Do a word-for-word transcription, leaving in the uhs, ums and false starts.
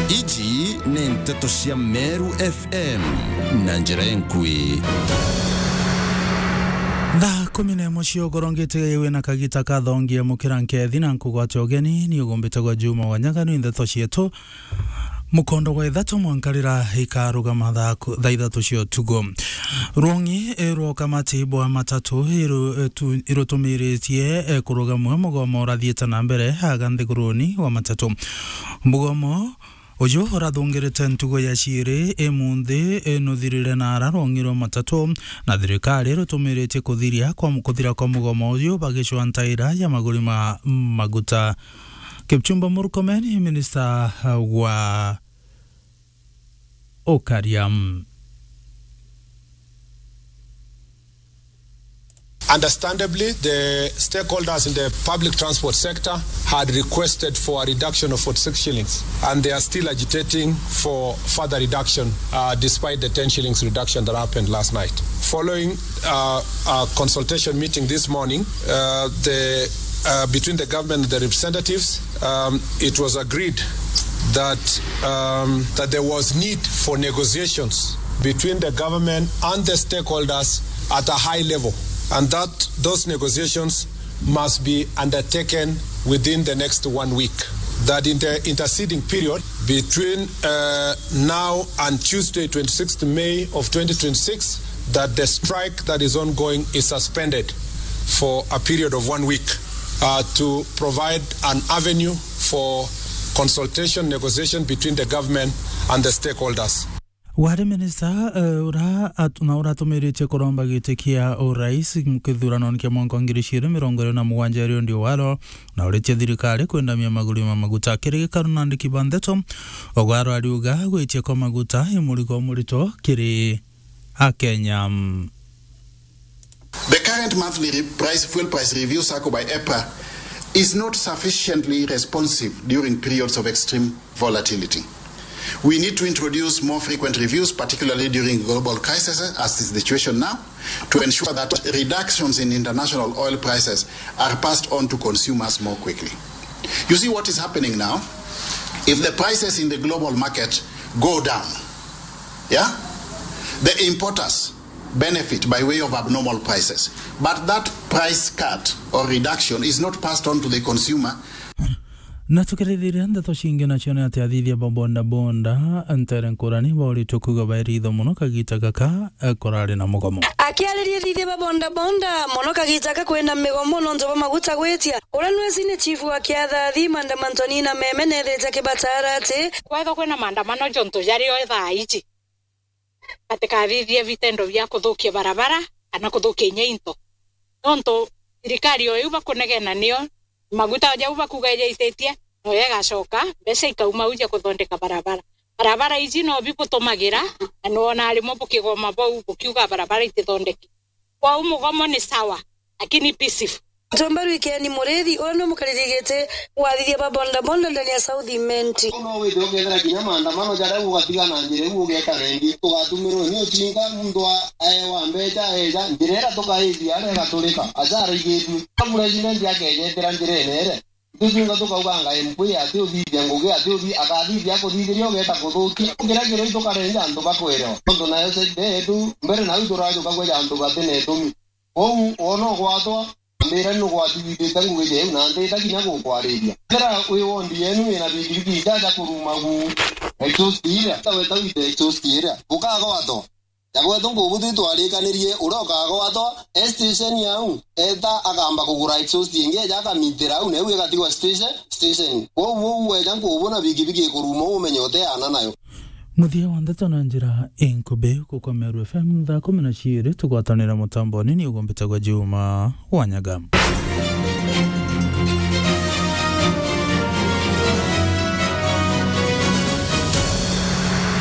Iji ni nteto cia Meru F M na njira enkui. Thaa kumi na imwe cia ugoro ngitiga wina kagita ka thongia mukira nkethi na nkugwate ugeni, ni ugumbite gwa Juma wa Nyaga, ni nteto cietu. Mukondo gwa ithatu mwanka rira ikarugama thaa ku-, thaa ithatu cia utuku. Rwong'i, eh, rwa kamati bwa matatu iru-, eh, tu-, irutumiritie, eh, kurugamua mugomo urathiite na mbere aga nthiguruni wa matatu. Mugomo uju urathungirite ntugo ya ciiri imunthi, eh, nuthirire na ara rwong'i rwa matatu, na thirikari irutumiritie kuthiria kwa mu-, kuthira kwa mugomo uju bagicwa ntaira ya maguri ma maguta. Kipchumba Murkomen, minista wa ukaria. Understandably, the stakeholders in the public transport sector had requested for a reduction of forty-six shillings, and they are still agitating for further reduction, uh, despite the ten shillings reduction that happened last night. Following, uh, a consultation meeting this morning, uh, the, uh, between the government and the representatives, um, it was agreed that, um, that there was need for negotiations between the government and the stakeholders at a high level, and that those negotiations must be undertaken within the next one week. That in the interceding period between, uh, now and Tuesday, twenty-sixth May of twenty twenty-six, that the strike that is ongoing is suspended for a period of one week, uh, to provide an avenue for consultation, negotiation between the government and the stakeholders. Wari minista, eh, ura at-, na uratumiritie kuromba giti kia urais kithuranoni kia mwaka wa ngiri igiri mirongo iri na mugwanja, Eliud Owalo, na uritie thirikari kwendamia maguri ma maguta. Kiri gikaru na andiki ba ndeto, Owalo ariuga gwitia kwa maguta i murigo murito kiri Akenya. The current monthly re-, price, fuel price review cycle by EPRA is not sufficiently responsive during periods of extreme volatility. We need to introduce more frequent reviews, particularly during global crises, as is the situation now, to ensure that reductions in international oil prices are passed on to consumers more quickly. You see what is happening now? If the prices in the global market go down, yeah, the importers benefit by way of abnormal prices. But that price cut or reduction is not passed on to the consumer. Na tukirithiria ndeto cingi, nacio ni ati athithia ba boda boda ntere nkurani bauritwe kuuga baeritho mono kagita gaka, eh, kurari na mugomo. Akiariria athithia ba boda boda mono kagita gaka kwina migomo nontu bwa maguta gwitia, uria nwesi ni chief wa kiathathi Manda Mantoni na Meme nethirite akibataara ati kwethwa kwina maandamano jontu jario thaa iji, batikathithie vitendo bia kuthukia barabara kana kuthukia inya into. Nontu thirikari o iu bakunegena nio, maguta o jau bakuga ijaititie, noyo igacoka, mbeca ikauma au ja kuthondeka barabara. Barabara iji no bibutumagira, na nwona rimwe bukigoma bau bukiuga barabara itithondeki. Kwou mugomo ni sawa, lakini peaceful. Mutumba Rwikeni Murithi, uria ni mukariri giti wa athithia ba boda boda ndani ya South Imenti. No withire ukethira kinya maandamano jaria ugatiga na njira iu ugeta rendi, tugatumirwe ni ucinga, muntu a-, aewa mbeca eja, njira iria tukaithia aria igaturika, aja araigitue. President akejetera njira ene ere. Ithuĩ twinthe tukauganga M P ati uthithia ngugi, ati uthi-, akathithia akuthithiria ugeta kuthukia. Kira kiro itukarenja antu bakwerewa. Tontu nayo side yetu, mbere nau turajuka kweja antu bati na itumi. Kwou wona ugwatwa, ambira ni ugwatithithite ngugi jeu na ndita kinya gukwariria. Kira wi wondi yenu wina bigibigi ijaja kuruma gu exhaust iria, taweta wite exhaust iria, ukagwatwa. Ja gwetu ngubu twitwarikanirie, uria ukagwatwa e station yau, eta akamba kugura exhaust ingi, eja akamitira au, na iu igatigwa station, station. Kwou uu weja ngubu na bigibigi ikuruma, umenye uteana nayo. Muthia wa ndeto na njira inkubi, guku kwa Meru F M, thaa kumi na ciiri, tugwatanira mutamboni, ni ugumbite gwa Juma wa Nyaga.